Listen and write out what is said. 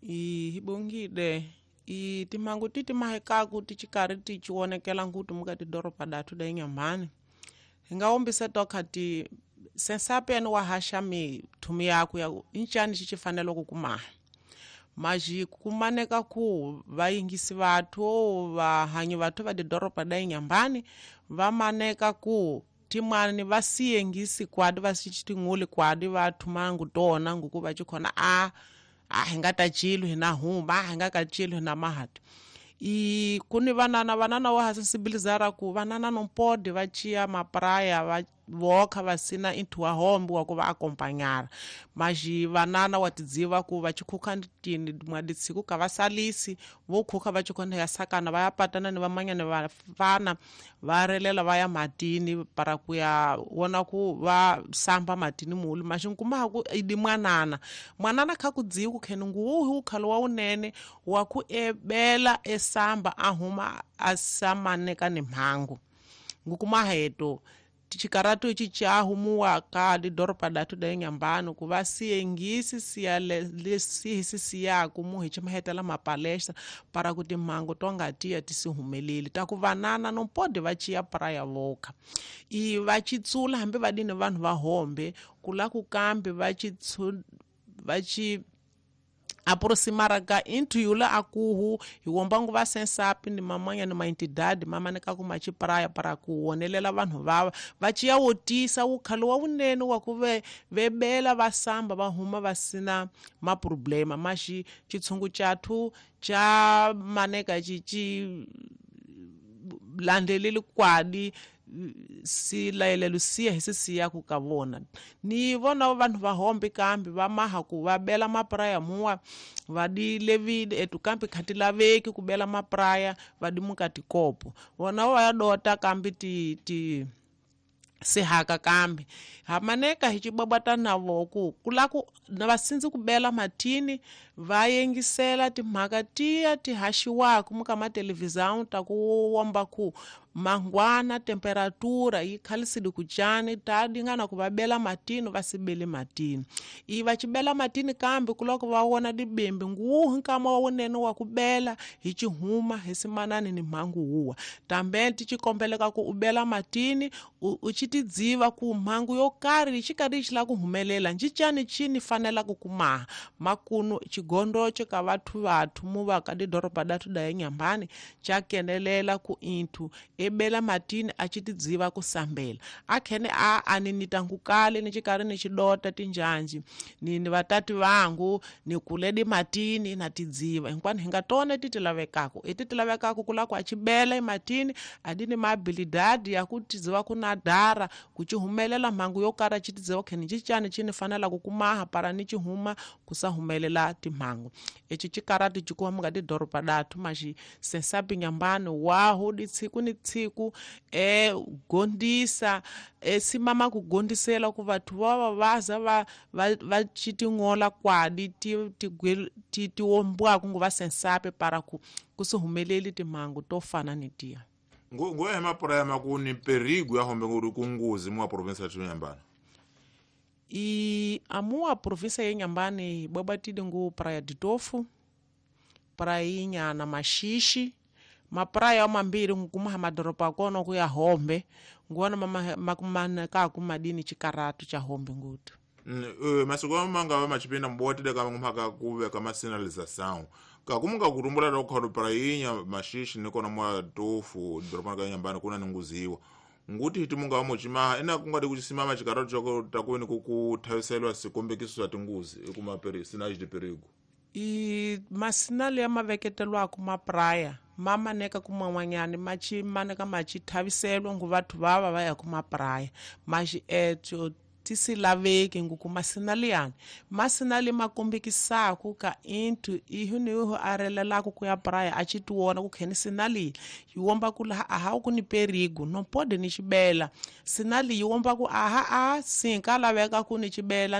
Hibongile i timhangu ti timahekaku ti xikarhi ti ci vonekela nguthu muka tidoroba dathu da Inhambane hi nga wombisa tokha ti sensapeni wa haxa mithumi yaku ya incani xi xi fanele ku kumaha maji kumaneka ku vayingisi vathu vahanyi vathu va tidoroba da Inhambane va maneka ku timani va siyengisi kwadi va xitinguli kwadi va thumangu tona nguku va chikhona a hi nga ta chilo hi na huma hi nga ka chilo hi na mahati i kuni vanana wa ha sensibilizara ku vanana no pode va chia mapraya va vokha va sina inthu wa hombe wa ku va akompanyara maji vanana wa tidziva ku va chikhukha tini mwaditshiku ka va salisi vo khukha va chikhona ya sakana va ya patana ni vamanyana vafana va relela va ya matini para ku ya wona ku va samba matini mulu maji nkuma ku idi mwanana mwanana kha ku dziwi ku kheni nguwu ukhalo wa unene wa ku ebela esamba ahuma asamaneka ni mhangu ngukuma heto tichikaratu ichi chahumuwa ka lidoropa datu da Inhambane ku va siyengisi siya lesihisi siyaku muhi chimahetela mapalestra para ku timhangu to nga tiya ti si humeleli ta ku vanana no pode va chiya praya voka i va chitsula hambi va dini vanhu va hombe kula ku kambe va chi aproximara ka inthu yula akuhu hi wombangu va sensapi ni mamanya ni maentidade mamaneka ku machipraya para ku wonelela vanhu vava va chiya wotisa wukhalo wa wunene wa ku vebela va samba va huma va sina maproblema maxi chitshungu chathu cha maneka chi landzeleli kwadi si layelelo siya hi sisiya ku ka vona ni vona vanhu va hombe kambe va maha ku va bela mapraya muwa va di levile etu kambe khati laveki ku bela mapraya va di muka tikopo vona va ya dota kambe ti sihaka kambe hamaneka hi chibabata navo ku kula ku na vasindzi ku bela matini va yengisela timhaka tiya ti haxiwaku muka matelevisão ta ku womba ku mangwana temperatura yi khalisile ku cani ta dingana ku va bela matini va sibele matini i va chibela matini kambe ku loko va wona dibembe nguwu nkama wa wunene wa ku bela hi chihuma hi simanani ni mhangu huwa tambe ti chikombeleka ku u bela matini u chitidziva ku mhangu yo karhi xikarhi xi la ku humelela ncicani chini fanela ku kumaha makunu chigondo ka vathu muva ka didoroba datu da Inhambane cha kenelela ku inthu ebela matini a chitidziva ku sambela akhene a aninita ngukale ni chikari ni chidota tinjanji ni vatati vangu ni kuledi matini na tidziva hinkwani hi nga tona ti tilavekako i ti tilavekako ku la ku a chibela ematini adini maabilidade ya ku tidziva ku nadara ku chihumelela mhangu yo karhi chitidziva kheni chicani chini fanela ku kumaha para ni chihuma ku sa humelela timhangu ichi chikarati chikuwa muka tidoroba datu maxi sensapi Inhambane waho ditsiku ni tsiku gondisa simama ku gondisela ku vathu va vaza va chitingola kwadi ti ti wombwaku ngo va sensape para ku si humeleli timhangu to fana ni tiya ngo hema prema ku ni perigo ya hombe nguri ku nguzi mwa province ya Inhambane i amua province ya Inhambane bwabatile ngu praia de Tofu prainha na Maxixe mapraia mambiri ngukuma madoroba kono ku ya hombe nguona makumana ka kumadini chikaratu cha hombe ngutu masiku manga va machipinda mbotile ka mhaka ku veka masinalização ka kumunga kutumbula ta kukhalo prainha Maxixe ni kona mwa Tofu doroba ka Inhambane kuna ni nguziwa nguti hiti munga wa muchimaha ina kungati kuchisimama chikaratu chako takuweni ku thaviselwa sikombekiso swa tinguzi ekuma sinais de perigo i masinali ya maveketelwaku mapraya ma maneka kuman'wanyani machi maneka machi thaviselwa ngu vathu vava va ya ku mapraya maxi etso ti si laveki nguku masinali yani masinali ma kombekisaku ka inthu ihu ni ihu a relelaku ku ya praya a chi tiwona ku kheni sinali yi womba ku laha aha ku ni perigo no pode ni xibela sinali yi womba ku aha a sinka laveka ku ni xibela.